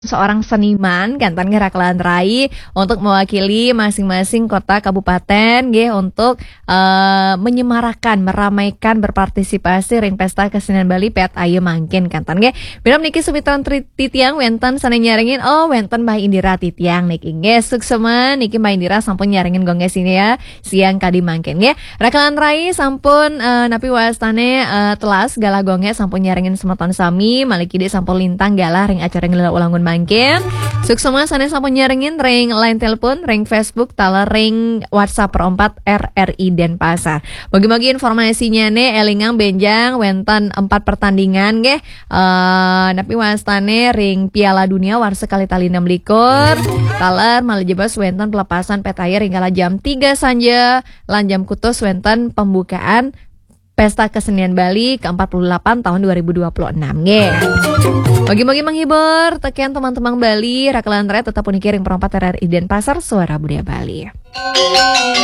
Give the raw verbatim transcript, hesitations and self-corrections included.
seorang seniman, kan, tan nggih, Rakelan Rai, untuk mewakili masing-masing kota kabupaten nggih, untuk eh, menyemarakan, meramaikan, berpartisipasi ring Pesta Kesenian Bali pét ayu mangkin, kan, tan nggih. Mirab niki, sumitran tri- titiang, wénten sané nyarengin. Oh, wénten Mbah Indira titiang niki nggih. Suksma niki, Mbah Indira sampun nyarengin gonggé sini ya, siang kadi mangkin nggih. Rakelan Rai sampun eh, napi wastané eh, telas galah gonggé sampun nyarengin semeton sami, malih kidik sampun lintang galah ring acara Ngelela Ulangun mangkin. Suksma sané sampun nyarengin ring line telepon, ring Facebook, taler ring WhatsApp Pro empat R R I Denpasar. Mugi-mugi informasinya né élingang bénjang wénten empat pertandingan nggih. Eh, napi wastané ring Piala Dunia warsa kalih tali enam likur. Taler malih jebos wénten pelepasan pét ayu ring kala jam tiga sanja lan jam kutus wénten pembukaan Pesta Kesenian Bali ke empat puluh delapan tahun dua ribu dua puluh enam nggih. Mugi-mugi menghibur, tekén teman-teman Bali, Rakelan Rai tetap puniki ring Pro empat R R I Denpasar, Suara Budaya Bali.